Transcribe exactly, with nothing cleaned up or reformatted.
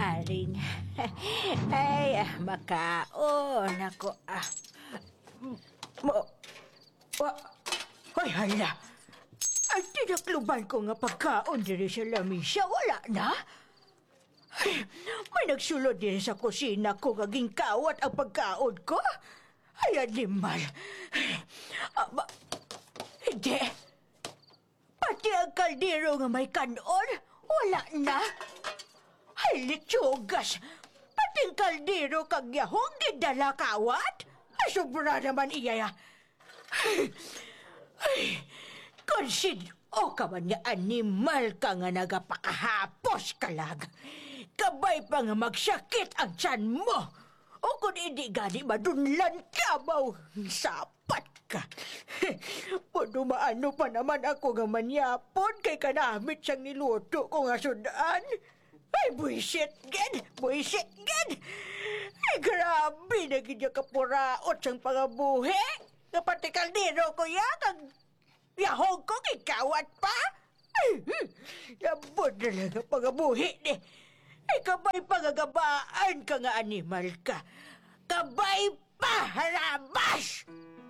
Aring. Ay, ah, makaon ako, ah. Mo, wa, hoy, hala. Ang tinakluban ko nga pagkaon diri sa lamisa, wala na. Ay, may nagsulod diri sa kusina ko nga ginkawat ang pagkaon ko. Ay, animal. Ah, ba, hindi. Pati ang kaldero nga may kan-on, wala na. Ay, litsugas! Pati ang kaldero kag yahong gindala kawat? Ay, sobra naman iya, ya. Ay, kon sin-o ka man nga animal ka nga nagapakahapos ka lang, kabay pa nga magsakit ang tiyan mo. O kon hindi gani, madunlan ka, baw. Sapat ka. Paano maano pa naman ako nga manyapon kay kanamit sang niluto ko nga sud-an? Ay, buisit gid! Buisit gid! Ay, grabe na gid ya kapuraot sang pangabuhi! Nga pati kaldero ko ya, kag yahog ko gikawat pa? Ay, hmm, labod na lang ang pangabuhi ni. Ay, kabay pa nga gabaan ka nga animal ka. Kabay pa, harabas!